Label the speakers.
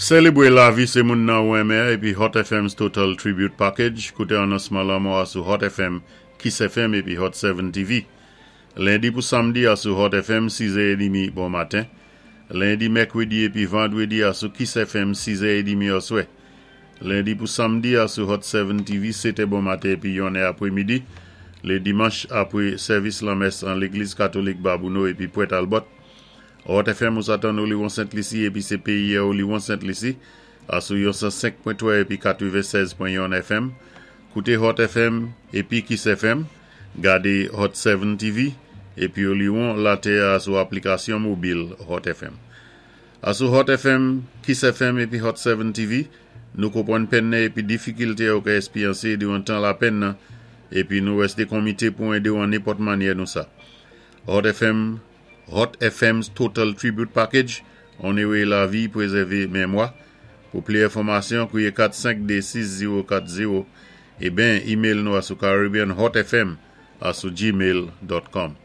Speaker 1: Sélébwé lavi sé moun nan ou enmen épi Hot FM's Total Tribute Package. Kouté anonsman lanmò a sou Hot FM, Kiss FM épi Hot 7 TV. Lendi pou samdi a sou Hot FM 6 è bon maten. Lendi, mèkwédi épi vandwédi a sou Kiss FM 6 è édmi oswè. Lendi pou samdi a sou Hot 7 TV 7 è bon maten épi 1 è apwémidi. Lé dimanch apwé sèvis lanmès an Légliz Katolik Babouno épi Pwent Albòt. Hot FM ou sa tann Oliwon Sent Lisi épi sé péyi Oliwon Sent Lisi a sou yon 105.3 épi 96.1 FM. Kouté Hot FM épi Kiss FM. Gadé Hot 7 TV épi Oliwon Latè a sou aplikasyon mobil Hot FM. A sou Hot FM, Kiss FM épi Hot 7 TV, nou konpwann pèn nan épi difikilté ou ka èspéryansé diwan tan lapèn nan épi nou wèsté konmité pou édé ou an nenpòt mannyè nou sa. Hot FM, Hot FM's Total Tribute Package, Onoré lavi, pwézèvé mémwa. Pou pli enfòmasyon, kwié 452 6040 é ben email nou a sou caribbeanhotfm a sou gmail.com.